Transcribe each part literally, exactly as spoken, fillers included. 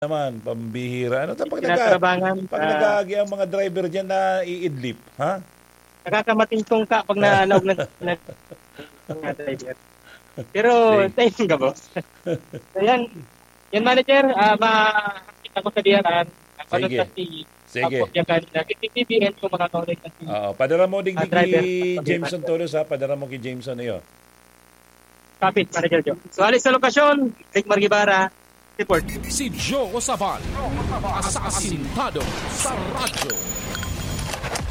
naman, pambihira. Ano ta pag naga-, Tinatrabangan, pag ah, nag-aagi ang mga driver diyan na iidlip, ha? Nakakamating tungka pag na-, naog na, na, mga driver. Pero, sige, thank you, boss. So, yan. Yan, manager, ah, ma-, kita ko sa D R R. Ako Sige. Sa si Sige. Apo, yan kanina. K T V N po, mga kaulay, kasi, Oo, padara mo digdi ah, driver, ki Jameson Todos, ha? Padara mo ki Jameson, iyo. Kapit, Manager Joe. So, alis sa lokasyon, Rick Margibara, report. Si Joe Sabal, asasintado sa radyo.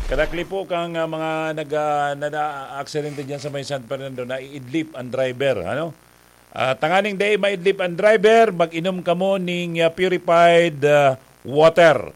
Kadakli po kang, ah, mga nag, ah, na, na-aksidente dyan sa may San Fernando, naiidlip ang driver, ano? Ah, tanganing dai maidlip ang driver, mag-inom kamo ning, ah, purified, ah, water.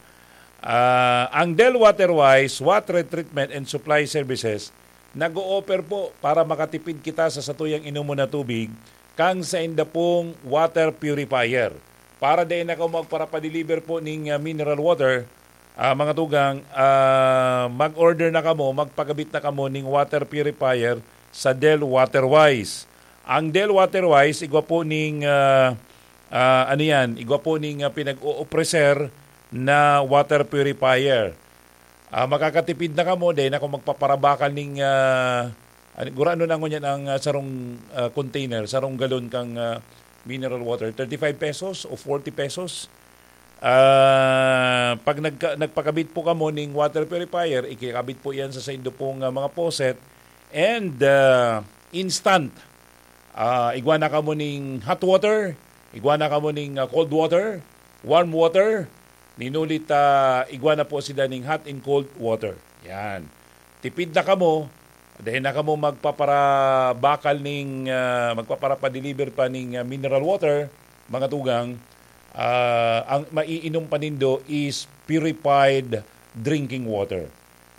Ah, ang Del Waterwise Water Treatment and Supply Services nag-o-offer po para makatipid kita sa satuyang inomon na tubig, kang sainda pong water purifier. Para dai na kamo magparapadeliver po ning, ah, mineral water, ah, mga tugang, ah, mag-order na kamo, magpakabit na kamo ning water purifier sa Del Waterwise. Ang Del Waterwise, igwa po ning, ah, ah, ano yan, igwa po ning, ah, pinag-o-offer na water purifier. Ah, makakatipid na kamo, dai na kamo magpaparabakal ning, ah, ano, gurano na ngunyan ang, ah, sarong, ah, container, sarong galon kang, ah, mineral water, thirty-five pesos o forty pesos. Ah, pag nagka-, nagpakabit po kamo ning water purifier, ikikabit po yan sa saindo pong, ah, mga faucet and, ah, instant. Ah, igwa na kamo ning hot water, igwa na kamo ning, ah, cold water, warm water, ninulit, ah, igwa na po sila ning hot and cold water. Yan. Tipid na kamo, dai na kamo magpaparabakal ning, ah, magpaparapadeliver pa ning, ah, mineral water, mga tugang, ah, ang maiinom pa nindo is purified drinking water.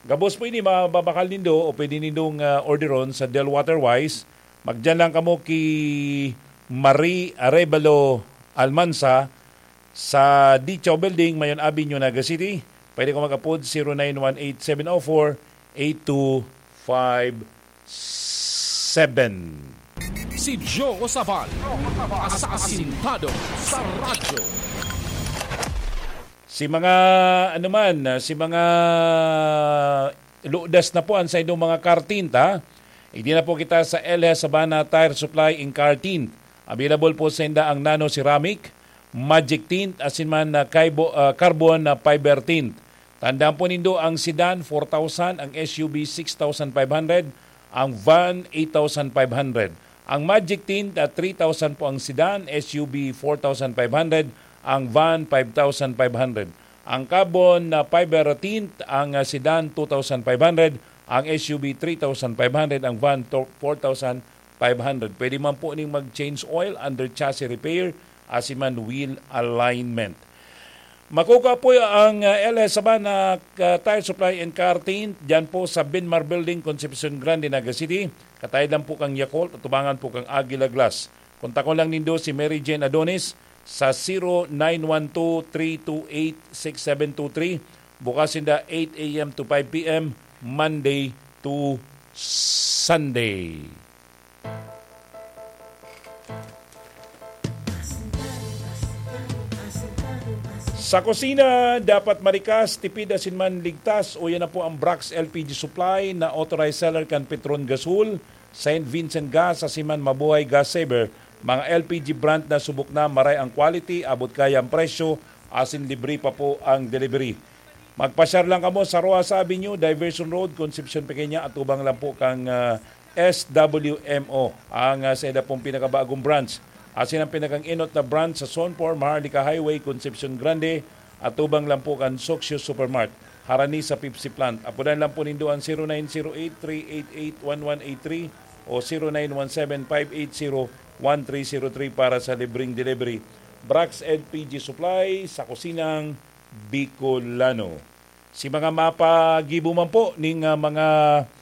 Gabos po ini, mababakal nindo o pwede nindong, ah, orderon sa Del Waterwise. Magdiyan lang kamo ki Marie Arevalo Almansa sa Dicho Building, Mayon Avenue, Naga City. Pwede ko mag-apod, zero nine one eight seven oh four eight two five seven. Si Joe Sabal, asasintado sa radyo. Si mga, ano man, ah, si mga ludas na po ang saindong mga car tint, ha? Igdi na po kita sa L S Sabana Tire Supply and Car Tint. Available po sa inda ang nano ceramic, magic tint, asin man na kaibo-, ah, carbon na fiber tint. Tandaan po nindo ang sedan, four thousand, ang S U V, six thousand five hundred, ang van, eight thousand five hundred. Ang magic tint, ah, three thousand po ang sedan, S U V, four thousand five hundred, ang van, five thousand five hundred. Ang carbon na fiber tint, ang, ah, sedan, two thousand five hundred, ang S U V, three thousand five hundred, ang van, to-, four thousand five hundred. Pwede man po ning mag-change oil, under chassis repair, asin man wheel alignment. Makukuha po ang, ah, L S Sabana, ah, Tire Supply and Car Tint, dyan po sa Benmar Building, Concepcion Grande, Naga City. Kataid lang po kang Yakult, atubangan po kang Aguila Glass. Kontakon lang nindo si Mary Jane Adonis sa zero nine one two, three two eight, six seven two three. Bukas sinda eight a m to five p m, Monday to Sunday. Sa kusina, dapat marikas, tipid asin man ligtas. Uya na po ang Brax L P G Supply na authorized seller kan Petron Gasol, Saint Vincent Gas, asin man Mabuhay Gas Saver. Mga L P G brand na subok na, maray ang quality, abot kaya ang presyo, asin libre pa po ang delivery. Magpasyar lang kamo sa Rojas Avenue, Diversion Road, Concepcion Pequeña, atubang lang po kang, ah, S W M O. Ang, ah, sa ida pong pinakabagong branch. Asin ang pinakang-inot na branch sa Zone four, Maharlika Highway, Concepcion Grande, atubang lang po kan Socio Supermart, harani sa Pepsi Plant. Apodan lang po nindo ang zero nine zero eight, three eight eight, one one eight three o zero nine one seven, five eight zero, one three zero three para sa libreng delivery. Brax L P G Supply, sa kusinang Bicolano. Si mga mapagibo man po ning, ah, mga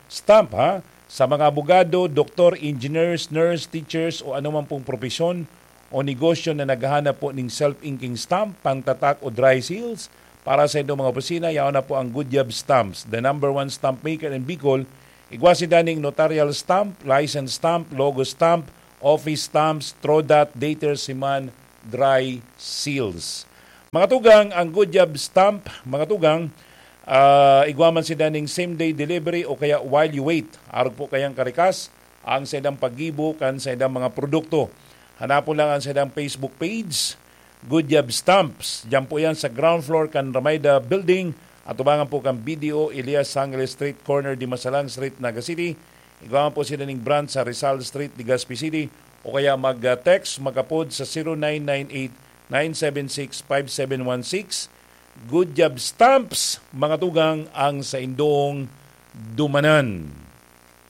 stamp, ha, sa mga abogado, doktor, engineers, nurse, teachers o anuman pong propesyon o negosyo na naghahanap po ning self-inking stamp, pangtatak o dry seals para sa indong mga opisina, yaon na po ang Good Job Stamps, the number one stamp maker in Bicol. Igwa sinda ning notarial stamp, license stamp, logo stamp, office stamps, trodat, dater, siman, dry seals. Mga tugang, ang Good Job Stamp, mga tugang, ah, igwa man sinda ning same day delivery o kaya while you wait. Arog po kayang karikas ang saindang paggibo kan saindang mga produkto. Hanapon lang ang saindang Facebook page, Good Job Stamps. Diyan po yan sa ground floor kan Ramayda Building, atubangan po kan B D O Elias Sangre Street, corner Dimasalang Street, Naga City. Igwa man po sila ning branch sa Rizal Street, Legazpi City, o kaya mag-text, mag-apod sa zero nine nine eight nine seven six five seven one six. Good Job Stamps, mga tugang, ang saindong dumanan.